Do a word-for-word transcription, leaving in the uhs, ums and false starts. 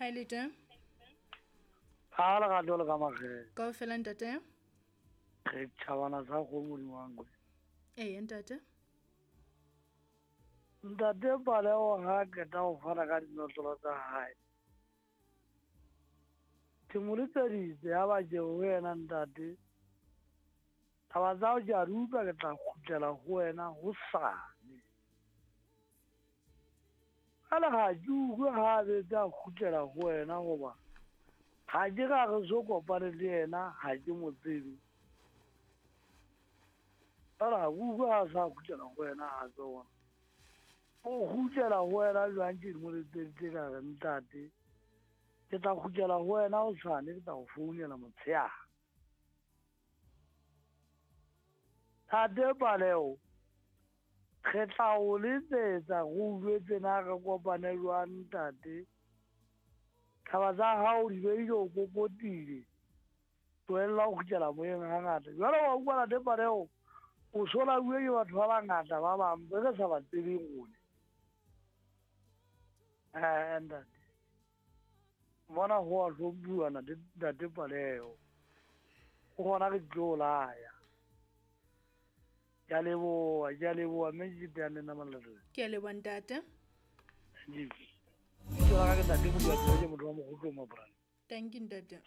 Ha le teng? Ha le ga le ka magere. Ka ofela ntate? Re tšhabana sa go modimo wa nkwe. Ee ntate. Ntate Paleo ha qeta ho fana ka dinotlolo tsa hae. Ke mo letseditse ya ba ke ho wena ntate. Taba tsa hao ke a di utlwa, ke tla kgutlela ho wena hosane. Jwale ha ke utlwe ha a betse a kgutlela ho wena hoba ha ke ka re so kopane le yena, ha ke mo tsebe. Jwale ha ke utlwe ha a sa kgutlela ho wena hape hona. O kgutlela ho wena jwang ke mo letseditse ka re ntate, ke tla kgutlela ho wena hosane, ke tla o founela motshehare. Ntate Paleo, re tla o letsetsa re o jwetse na re kopane jwang ntate. Taba tsa hao di be di o kokotile. Tlohella ho kgutlela moyeng hangata. Jwale wa utlwa ntate Paleo, o so lauwe ke batho ba bangata ba bang be re sa ba tsebeng rona. Eh, ntate. Mona ho a hlomphuwa ntate Paleo. Ho hona re tlo laya. Ke a leboha, ke a leboha, mme ke teane le nna Malerato. Ke a leboha ntate. Lebitso la ka ke ntate Modiba, ke motho wa Mokgotlong Maporane. Thank you ntate.